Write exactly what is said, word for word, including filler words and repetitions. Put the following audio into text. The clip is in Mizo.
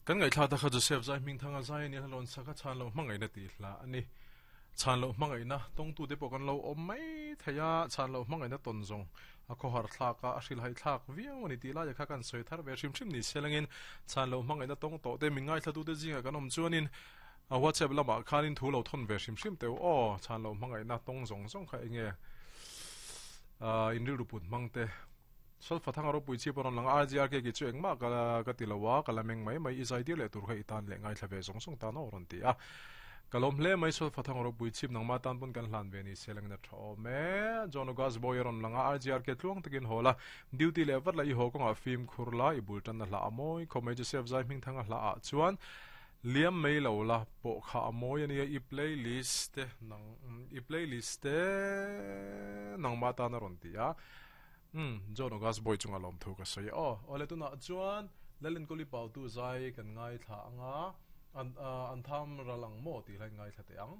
Kan ngaihthlak ta kha Joseph Zai Hmingthanga zai a ni a, hlawn sak a chhan loh hmangaihna tih hla a ni. Chhan loh hmangaihna tawngtu te pawh kan lo awm mai thei a, chhan loh hmangaihna tawn zawng a khawhar thlak a, a hrilhai thlak viau a ni tih laia kha kan sawi thar ve hrim hrim ni selangin chhan loh hmangaihna tawng tawh te min ngaithla te zinga kan awm chuanin a WhatsApp lamah khanin thu lo thawn ve hrim hrim teu aw chhan loh hmangaihna tawng zawng zawng kha enge in rilru put hmang te solfa thanga ropui chi pawn lang R G R K ki chu engmah ka ka ti lowa ka la meng mai mai i zai dir leh tur kha i tan leh ngaithla ve zawng zawng tan aw rawn ti a kalom hle mai solfa thanga ropui chip nangma tan pun kan hlan ve ni seleng na tha me John Ogas boy ron langa R G R K tluang takin hola duty le vat la i ho konga film khur la i bul tan na hla amoi khomai Joseph Zai hming thanga hla a chuan liam mai lo la po kha amoi ania i playlist te nang i playlist te nangma tan a rawn ti a um John Ogas boy chunga lom thu ka soi o ole tuna chuan lalin koli pau tu zai kan ngai thla anga an an tham ralang mo ti lai ngai thla te ang.